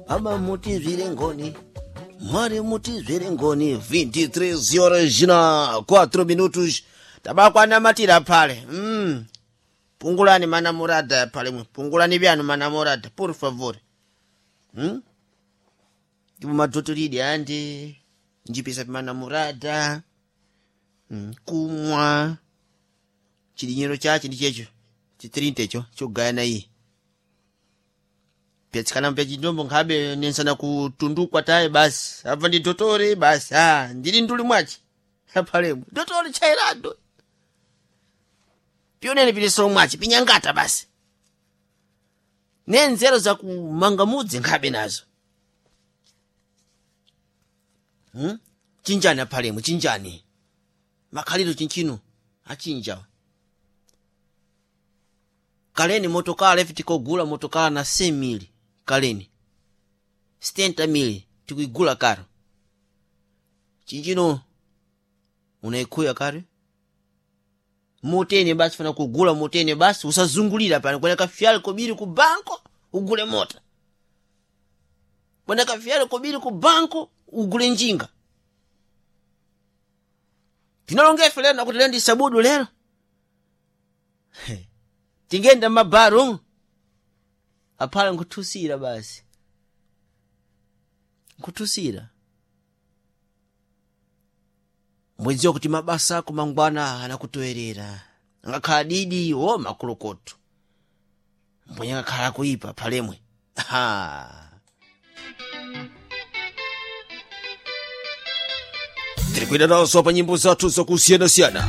Ama mutizvire ngoni, Mwari mutizvire ngoni. 23 horas na 4 minutos, tabakwanamatira pale. Pungulani manamorada pale mwe, pungulani vyanu manamorada, por favor. Ndipo madotolidi andi njipisa pimanamorada, kumwa chidinyero chache ndi checho chitirinte icho chogayana iyi pyatsikana pya chindombo nkhabe nensana kutundukwa taye basi abva ndi dotore basi, a ndili nduli mwachi apalemo dotore chairado pionene pilisolo mwachi pinyangata basi nenzero zakumanga mudzi nkhabe nazo. Chinjani apalemo, chinjani makhaliro chinchino achinja. Kaleni motokala ife tikogula motokala na 100 mili, kaleni 70 mili tikuigula karo. Chinchino unaikhuya kare motene basi, fana kugula motene basi, usazungulira pano kwena kafyale kobiri ku banko ugule mota, kwena kafyale kobiri ku banko ugule njinga. Tinalongefe lero nakuti lero ndi sabudu lero tingenda mabaru aphala nkuthusira basi, nkuthusira mwedziwa kuti mabasa ako mangwana anakutoerera, angakhala didi wo makulukoto mbwenye akakhala kuipa phalemwe. Ha, Tiri kuenda nazo pa nyimbo zathu zakusiyanasiyana.